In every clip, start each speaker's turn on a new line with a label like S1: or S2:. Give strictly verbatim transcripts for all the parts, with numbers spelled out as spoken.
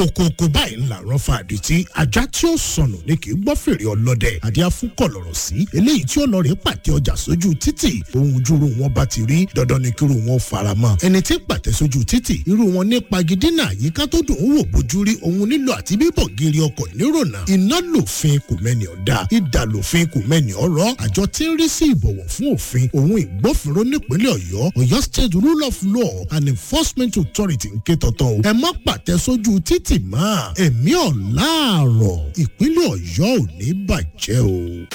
S1: Kòkòkò báyìí ńlá rán fa àdìtí. Ajá tí ó sọnù ni kì í gbọ́ fèrè ọlọ́dẹ. Àdìá fún kọ̀lọ̀rọ̀ sí eléyìí tí ó lọ rèé pàtẹ ọjà sójú títì. Ohun júru wọn bá ti rí, dandan ni kíru wọn fara mọ́. Ẹni tí pàtẹ sójú títì, irú wọn ní pagidínà àyíká tó dùn ún wò bójú rí, òun nílò àti bíbọ̀ gírí ọkọ̀ nírònà. Iná lòfin, kò mẹ́ni ọ̀dà. Ìdà lòfin, kò mẹ́ni ọ̀rọ̀. Àjọ tí ń rí sí ìbọ̀wọ̀ fún òfin òun ìgbófinró nípínlẹ̀ Ọ̀yọ́, Ọ̀yọ́ State Rule of Law and Enforcement Authority, ń ké tọ̀tọ̀ o. Ẹ má pàtẹ sójú títì mọ́. Ẹ̀mí ọ̀làárọ̀, ìpínlẹ̀ Ọ̀yọ́ ò ní bàjẹ́ o.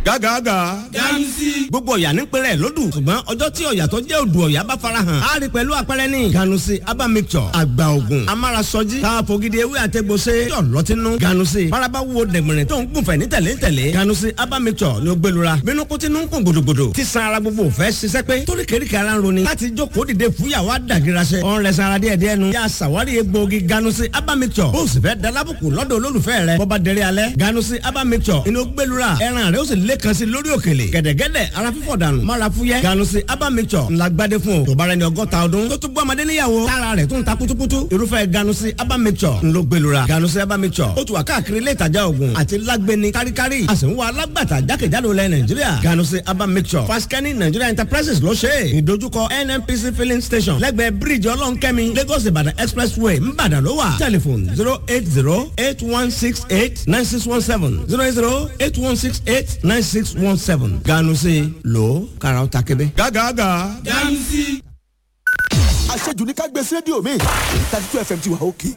S2: Gágàgà.
S3: Ganusi. Gbogbo ọ̀yà ní pẹ̀rẹ̀ lódù, ṣùgbọ́n ọjọ́ tí ọ̀yà tó jẹ́ odò ọ̀yà bá farahàn á rí pẹ̀lú àpẹẹrẹ ní. Ganusi aba mixture, àgbà ògùn amárasọjí tá a fògidì ewé àtẹgbọsẹ yọ lọtínú. Ganusi faraba wo dẹ̀gbìnrin tó ń gùnfẹ̀ ní tẹ̀lé tẹ̀lé. Ganusi aba mixture ni ó gbẹlura bínú kó tinú ń kún gbòdògbòdò tí san ara gbogbo fẹ́ ṣiṣẹ́ pé torí kèrékè ara ń roni láti jókòó dìde fúyàwó àdàgìrasẹ. Ọ̀n rẹ̀ sara díẹ̀ díẹ̀ nu. Yà sàwárí egbòogi Ganusi aba mixture. Bó o sì fẹ́ dalábùkù lọ́dọ̀ olólùfẹ́ rẹ̀ bọ́ba dẹrẹ́ alẹ́, Ganusi aba mixture inú gbẹlura ẹran rẹ̀ ó sì lé kan sí lórí òkèlè gẹ̀dẹ̀gẹ̀dẹ̀, ara fífọ̀ dànù mára fúyẹ́. Ganusi aba mixture ńlá gbadé fún o tó bára ẹni ọgọ́ta ọdún tó tún bọ́ ọmọdé níyàwó tára rẹ̀ tún ta kutukutu. Irúfẹ́ Ganusi aba mixture ńlọ gbẹlura. Ganusi aba mixture ó tún wà káàkiri ilé ìtajà oògùn àti lágbẹni káríkárí. A sì ń wá alágbàtà jákèjádò lẹ Nàìjíríà. Ganusi aba mixture, Faskani Nigeria Enterprises ló ṣe é. Ìdojúkọ N N P C filling station, lẹ́gbẹ̀ẹ́ bíríìjì Ọlọ́nkẹ́mi, Lagos Ìbàdàn Expressway, Ńbàdàn ló wà. Telephone zero eight zero eight one six eight nine six one seven, zero eight zero eight one six eight nine six one seven. Ganusi lò kàrà ó ta kébé.
S2: Gágàgà.
S3: Ganusi.
S4: Àṣejù ní ká gbé sí rédíò mi, thirty two F M ti wà òkè.